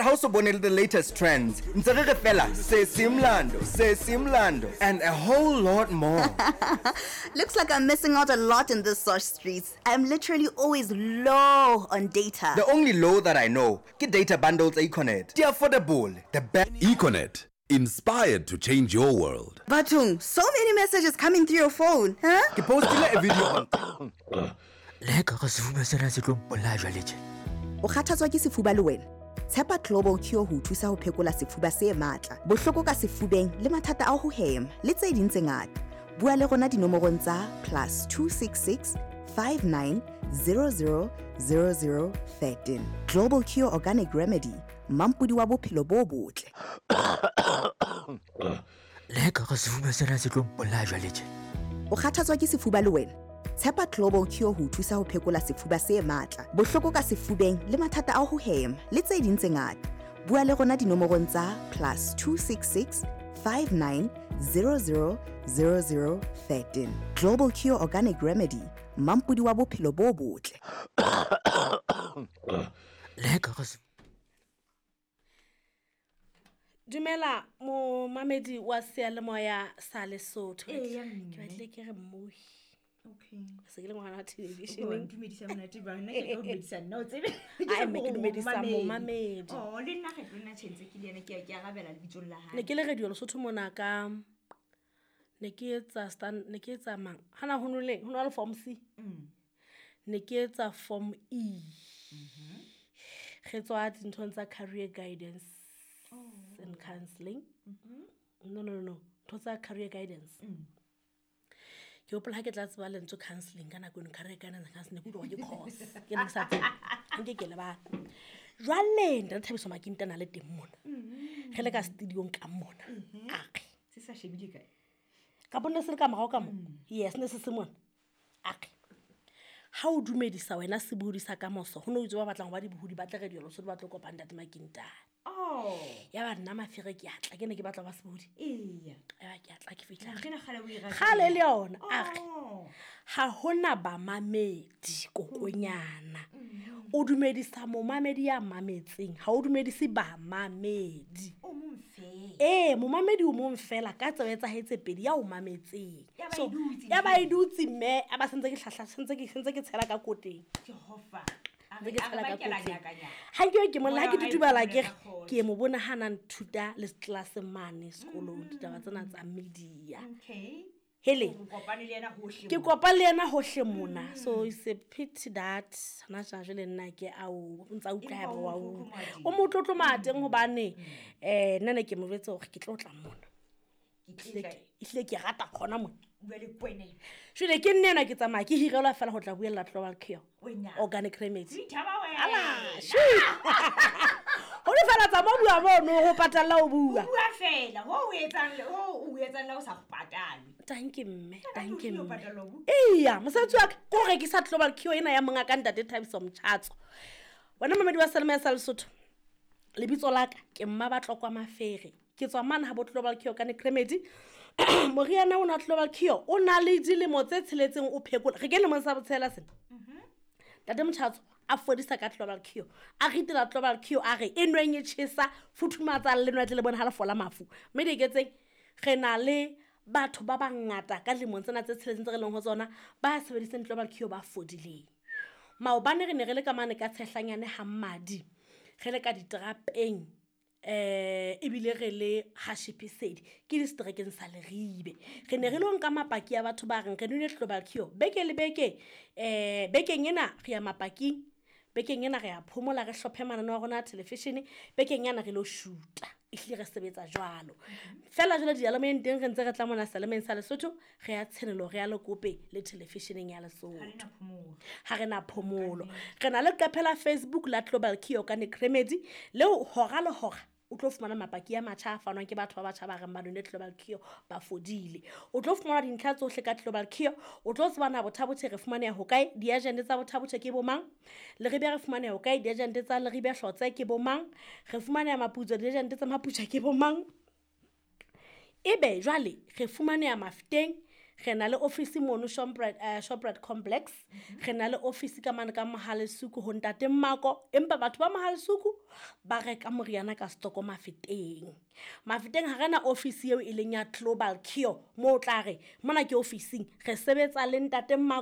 ha o so bone le the latest trends. Ntse re re fela sesi mlando, sesi mlando and a whole lot more. Looks like I'm missing out a lot in this sosh streets. I'm literally always low on data. The only low that I know ke data bundle tsa Econet. Di affordable, the best. Econet, inspired to change your world. Bathong, so many messages coming through your phone, huh? Ke postile a video on. Le ka ga sefuba sena se tlo mpolaya jwale tje. O kgathatswa ke sefuba le wena? Tshepa Global Cure ho o thusa ho phekola sefuba se matla, bohloko ka sefubeng le mathata a ho hema le tse ding tse ngata. Bua le rona dinomorong tsa +266 59 00 00 13. Global Cure Organic Remedy, mampodi wa bophelo bo botle. Le ka ga sefuba sena se tlo mpolaya jwale tje. O kgathatswa ke sefuba le wena? Tshepa Global Cure ho o thusa ho phekola sefuba se matla, bohloko ka sefubeng le mathata a ho hema le tse ding tse ngata. Bua le rona dinomorong tsa +266 59 00 00 13. Global Cure Organic Remedy, mampodi wa bophelo bo botle. Le ka ga Dumela momamedi wa seyalemoya sa Lesotho. Eya, Ke mme. batlile ke re mmohi. Okay. Se ke le ngwana wa Wa television. ntumedisa monate jwang? Nna ke tlo dumedisa nna, o tsebe. Ai, mme ke dumedisa momamedi. Oh, le nna ge tlo nna tjhentse ke le yena, ke arabela lebitsong la hae. Ne ke le radio Lesotho mona ka ne ke etsa stand, ne ke etsa mang? Hana ho noleng, ho na le form C. Ne ke etsa form E. Re tswa dinthong tsa career guidance and counseling. No, no, no, no. Ntho tsa career guidance. Ke hopola ha ke tla tseba lentswe counseling ka nako eno, career guidance and counseling, ke utlwa hore ke course. Ke ne ke sa tsebe. Ha nke ke lebala. Jwale Ntate Thabiso Makintana le teng mona. Re le ka studio-ong ka mona. A re. Se sa shebile kae? Ka bona se le ka morao ka mo? Yes, ne se se mona. A re. Ha o dumedisa wena sebohodi sa kamoso, ho no itse ba batlang ho ba dibohodi ba tle radio Lesotho ba tlo kopa Ntate Makintana. Oh. Ya ba nna mafere ke a tla, ke ne ke batla ho ba sebohodi. Eya. Ya ba ke a tla ke fihla. Ntho ena kgale o e ratile. Kgale le yona, a re. Oh. Ha hona bamamedi kokonyana. O dumedisa momamedi ya mametseng, ha o dumedise bamamedi. O mong feela. Ee, momamedi o mong feela ka tsebe tsa hae tse pedi ya o mametseng. Ya ba So, e dutse ya ba e dutse mme, a ba sentse ke hlahla, sentse ke tshela ka koteng. Jehova. A Ntse ke re tshela ka bakela koteng. nyakanyaka. Ha nke ke molla, ha ke Moya wa hae tutubala o ke re, phomole ka kgotso. ke mo bona ha na nthuta le class mane sekolong, ditaba tsena tsa media. Okay. Hele. O kopane le yena hohle Ke mona. kopane le yena hohle mona. So it's a pity that hona jwale le nna ke ao, o ntsa utlwa Empa haeba o wa motlotlo utlwa. Moadi. O motlotlo mateng hobane, nna ne ke mo jwetse hore ke tlo tla mona. Ke Ehlile tla ehlile ke rata hona mona. Bua le kwena. Jwale ke nna enwa ke tsamaya ke hirelwa fela ho tla buella Global Cure. Wena. Organic Remedy. Ithaba wena. Ala, shoo. Ho le fela tsa mo bua mono ho patalla o bua. Bua fela, ho o etsang le ho o etsang la o sa go patalwe. Thank you mme, Ka thank you tlung o mme. patallwa ho? Eya, mosebetsi wa ka ke ho rekisa Global Cure ena ya monga ka Ntate Thabiso Mtjhatso. Wena mamedi wa Seyalemoya sa Lesotho, lebitso la ka ke Mmabatlokwa Mafere. Ke tswa mane ha bo Global Cure Organic Remedy. Moriana ona Global Cure o na le dilemo tse tsheletseng o phekola. Re kene lemong sa botshela sena. Ntate Mtjhatso a fodisa ka Global Cure. A ritela Global Cure a re e nweng e tjhesa, futhumatsa le nwa tle le bone ha le fola mafu. Mme diketseng re na le batho ba bangata ka lemong tsena tse tsheletseng tse re leng ho tsona ba sebedisang Global Cure ba fodileng. Maobane re ne re le ka mane ka Tshehlanyane ha Mmadi, re le ka diterapeng, ebile re le ha Shipisedi, ke diseterekeng sa Leribe. Re ne re lo nka mapaki a batho ba reng re nwele Global Cure beke le beke. Bekeng ena re ya mapaking, bekeng ena re ya phomola, re hlophe mananeo a rona a television, bekeng ena re lo shoota. Ehlile re sebetsa jwalo. Feela jwale diyalemoyeng teng re ntse re tla mona seyalemoyeng sa Lesotho, re ya Tshenolo, re ya Lekope le televisioneng ya Lesotho. Ha re na phomolo. Ha re na phomolo. Re na le leqephe la Facebook la Global Cure Organic Remedy, leo hora le hora o tlo fumana mapaki a matjha a fanwang ke batho ba batjha ba reng ba nwele Global Cure ba fodile. O tlo fumana dintlha tsohle ka Global Cure, o tlo tseba na Botha-Bothe re fumaneha hokae, diagente tsa Botha-Bothe ke bo mang, Leribe re fumaneha hokae, diagente tsa Leribe Hlotse ke bo mang, re fumaneha Maputswa, diagente tsa Maputswa ke bo mang. Ebe jwale re fumaneha Mafeteng, Re na le office mono Shoprite, Shoprite complex. Re na le office ka mane ka Mohalesuku ho ntate Mmako, empa batho ba Mohalesuku ba reka moriana ka stoko Mafeteng. Mafeteng ha re na office eo e leng ya Global Cure, moo o tla re mona ke officing, re sebetsa le ntate Mmako.